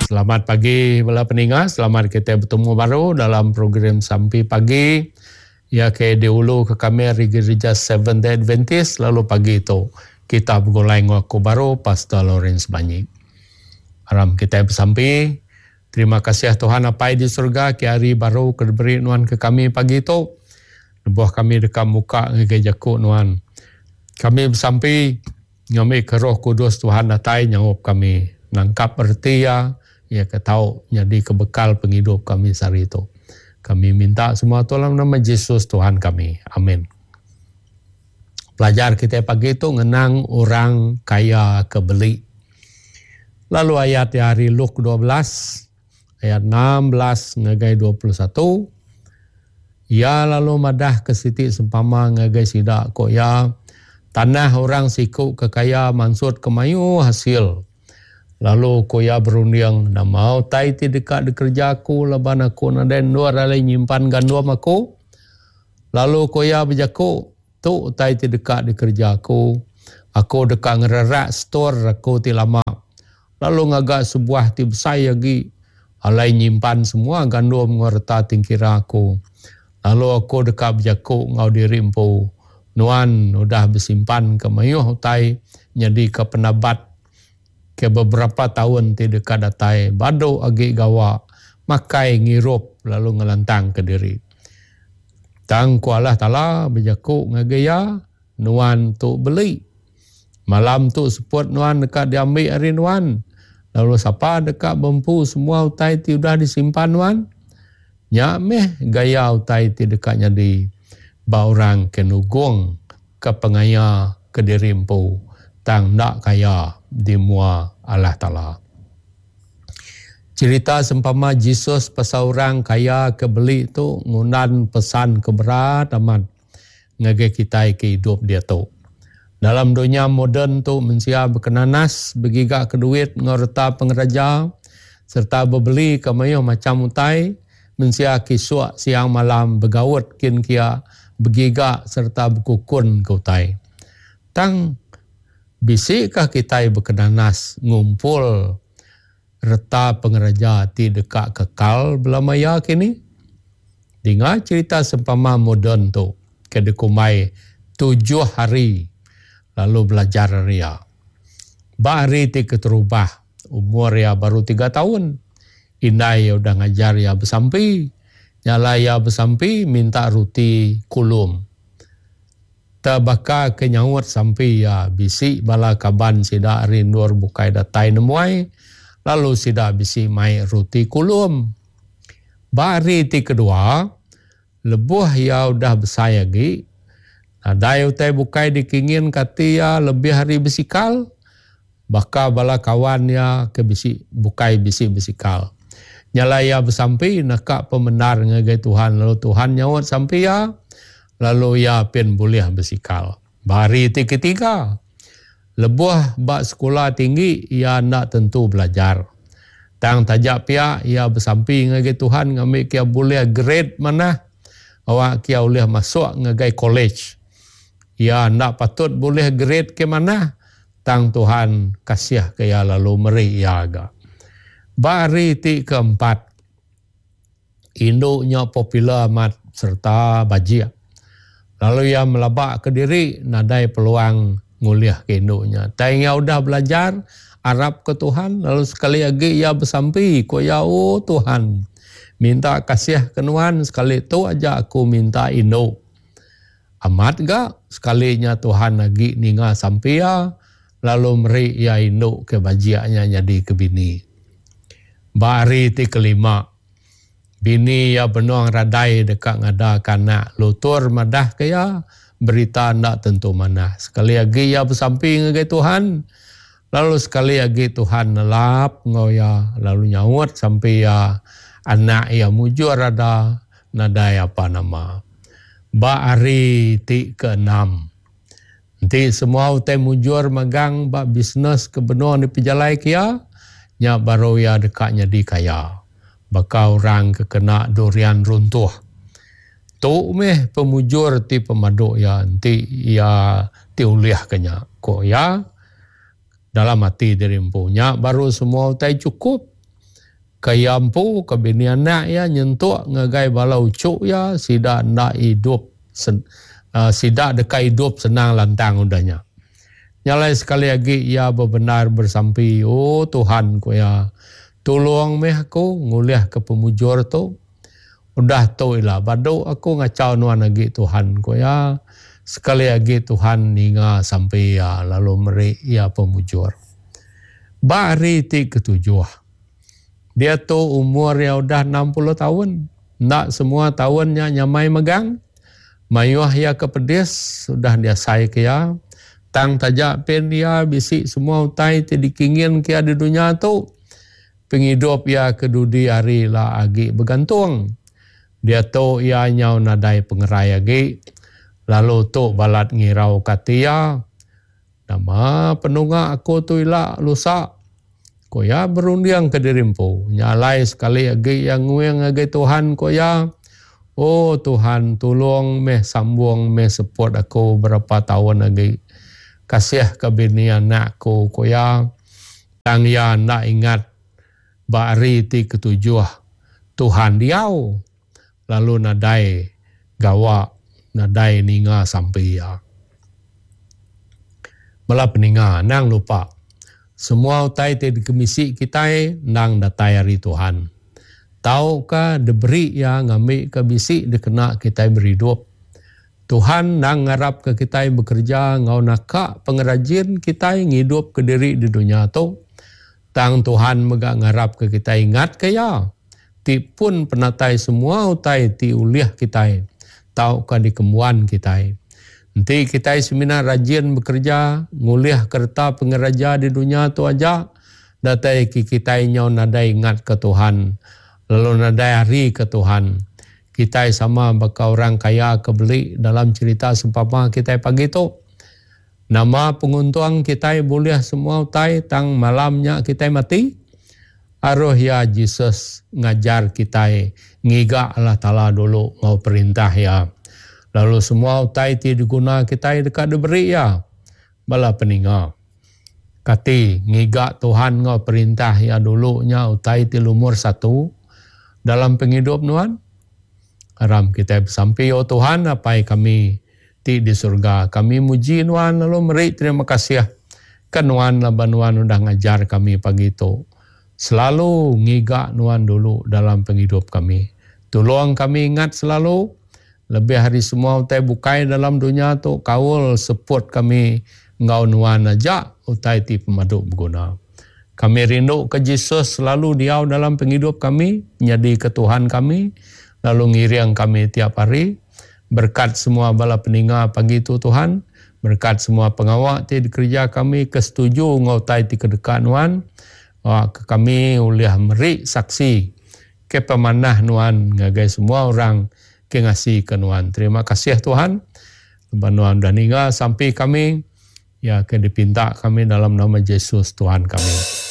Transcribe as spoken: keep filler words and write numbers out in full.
Selamat pagi bala peninga, selamat kita betemu baru dalam program Sampi Pagi. Ya ke diulu ke kami ari Gereja Seventh Day Adventist, lalu pagi tu kita begulai enggau aku baru Pastor Lawrence Banyi. Aram kita besampi. Terima kasih Tuhan Apai di surga ke hari baru ke diberi nuan ke kami pagi tu. Lebuh kami deka muka ngagai jaku nuan. Kami besampi ngambi ke Roh Kudus Tuhan datai nyaup kami nangkap reti ya, ya ke tau nyadi ke bekal pengidup kami sehari tu. Kami minta semua tu dalam nama Jesus Tuhan kami. Amin. Pelajar kita pagi tu ngenang orang kaya ke beli. Lalu ayat hari Luke dua belas ayat enam belas ngagai dua puluh satu. Ya lalu madah ke siti sempama ngagai sida ko ya tanah orang siku ke kaya mansut ke mayu hasil. Lalu ko ya berunding nama utai ti deka dikerja aku laban aku nadai endur alai nyimpan gandum aku. Lalu ko ya bejaku tu utai ti deka dikerja aku, aku deka ngererak store aku ti lama lalu ngaga sebuah ti besai lagi alai nyimpan semua gandum enggau reta tingkira aku. Lalu aku deka bejaku enggau diri empu, nuan udah bersimpan ke mayuh utai nyadi ke penabat ke beberapa tahun ti deka datai badu agi gawa makai ngirup lalu ngelantang ke diri. Tang ku Allah Taala bejaku ngagai ya, nuan tu beli. Malam tu seput nuan deka diambil ari nuan. Lalu sapa deka bempu semua utai ti udah disimpan nuan? Nya meh gaya utai ti deka nyadi ba orang ke nugong ke pengaya ke diri empu tang ndak kaya di mua Allah Taala. Cerita sempama Jesus pasal orang kaya ke beli tu ngundan pesan ke berat amat ngagai kita ke hidup dia tu. Dalam dunia moden tu mensia berkenanas begiga ke duit enggau reta pengeraja serta bebeli ke mayuh macam utai, mensia kisuk siang malam begaut kin kia begiga serta bekukun ke utai. Tang bisikah kita berkenanas ngumpul reta pengeraja ti deka kekal belamaya kini? Dengar cerita sempama moden tu ke dikumbai tujuh hari lalu belajar ria. Ba hari ti keterubah umur ya baru tiga tahun. Indai ya udah ngajar ya bersampi. Nyala ya bersampi minta roti kulum. Terbaka ke nyaut sampi ya bisi bala kaban sida rindur bukai datai nemuai lalu sida bisi mai roti kulum. Ba hari ti kedua lebuh ya udah besai lagi nadai utai bukai dikingin kati ya lebih hari besikal baka bala kawan ya ke bisi bukai bisi besikal. Nyala ya bersampi naka pemendar ngagai Tuhan lalu Tuhan nyaut sampi ya lalu ya pin boleh besikal. Bari ti ketiga lebuh ba sekolah tinggi ia nak tentu belajar. Tang tajak pia ia bersampi ngagai Tuhan ngambil kia boleh grade mana awak kia boleh masuk ngagai college. Ia nak patut boleh grade ke mana tang Tuhan kasih ke ia lalu meri ia aga. Bari ti keempat induknya popular amat serta bajik. Lalu ia melabak ke diri nadai peluang nguliah ke induknya. Tang ia udah belajar arap ke Tuhan lalu sekali lagi ia bersampi ko ya oh Tuhan minta kasih ke nuan sekali tu aja aku minta induk. Amat ga sekalinya Tuhan lagi ninga sampi ia lalu meri ia induk ke bajiaknya jadi ke bini. Ba hari ti kelima bini ia benuang radai dekat ngada kanak lutur madah ke ia berita ndak tentu mana. Sekali lagi ia bersampi ngagai Tuhan lalu sekali lagi Tuhan nelap ngau ia lalu nyaut sampai ia anak ia mujur ada nadai apa nama. Ba hari ti keenam nanti semua utai mujur magang ba bisnes ke benua di pejalai kia nya baru ia dekat nyadi kaya. Baka orang ke kena durian runtuh. Tu meh pemujur ti pemaduk ya nanti ia ti uliah kenya. Ko ya dalam hati diri empunya baru semua utai cukup. Ke iya empu, ke bini anak iya nyentuk ngagai bala uchu iya sida enda idup sida deka idup senang lantang udah nya. Nya alai sekali agi iya bebendar besampi, "O Tuhan," ku iya, "tulung meh aku ngulihka pemujur tu. Udah tu ila badu aku ngachau nuan agi Tuhan," ku iya. Sekali agi Tuhan ninga sampi iya lalu meri iya pemujur. Ba hari ti ketujuh, diatu umur iya udah enam puluh taun. Enda semua taun nya nyamai megang. Mayuh iya ke pedis udah diasai ke iya. Tang taja pen iya bisi semua utai ti dikingin ke iya di dunya tu, pengidup iya ke dudi hari ila agi begantung. Diatu iya nyau nadai pengerai agi. Lalu tu balat ngirau ke ati iya. Nama penunga aku tu ila lusa? Ku iya berunding ke diri empu. Nya alai sekali agi iya nguing ngagai Tuhan, ku iya, "O Tuhan, tulung meh sambung meh seput aku berapa taun agi. Kasih ke bini anak aku," ku iya. Tang iya enda ingat ba hari ti ketujuh Tuhan diau lalu nadai gawa, nadai ninga sampi iya. Bala peninga, anang lupa, semua utai ti dikemisi kitai endang datai ari Tuhan. Tauka diberi iya ngambika bisi dikena kitai beridup. Tuhan endang ngarapka kitai bekereja enggau naka pengerajin kitai ngidupka diri di dunya tu. Tang Tuhan mega ngarapka kitai ingatka iya, ti pun penatai semua utai ti ulih kitai tauka dikembuan kitai. Enti kitai semina rajin bekereja, ngulih kereta pengeraja di dunya tu aja, datai ki kitai nyau nadai ingat ke Tuhan, lalu nadai hari ke Tuhan. Kitai sama baka orang kaya ke beli dalam cerita sempama kitai pagi tu. Nama penguntung kitai bulih semua utai tang malam nya kitai mati? Aruh iya Jesus ngajar kitai ngiga Allah Taala dulu enggau perintah iya. Lalu semua utai ti diguna kitai deka diberi iya. Bala peninga, kati ngiga Tuhan enggau perintah iya dulu nya utai ti lumur satu dalam pengidup nuan? Aram kitai besampi, O Tuhan, Apai kami ti di surga, kami muji nuan lalu meri terima kasih ke nuan laban nuan udah ngajar kami pagi tu. Selalu ngiga nuan dulu dalam pengidup kami. Tolong kami ingat selalu, lebih hari semua utai bukai dalam dunia tu, kaul seput kami enggau nuan aja utai ti pemadu berguna. Kami rindu ke Jesus selalu diau dalam pengidup kami, nyadi ke Tuhan kami, lalu ngiring kami tiap hari. Berkat semua bala peninga pagi tu Tuhan, berkat semua pengawak ti dikerja kami kesetuju enggau utai ti kedeka nuan, ke kami ulih meri saksi ke pemanah nuan ngagai semua orang ke ngasi ke nuan. Terima kasih Tuhan. Lepas nuan dah ninga sampai kami, ya ke dipinta kami dalam nama Yesus Tuhan kami.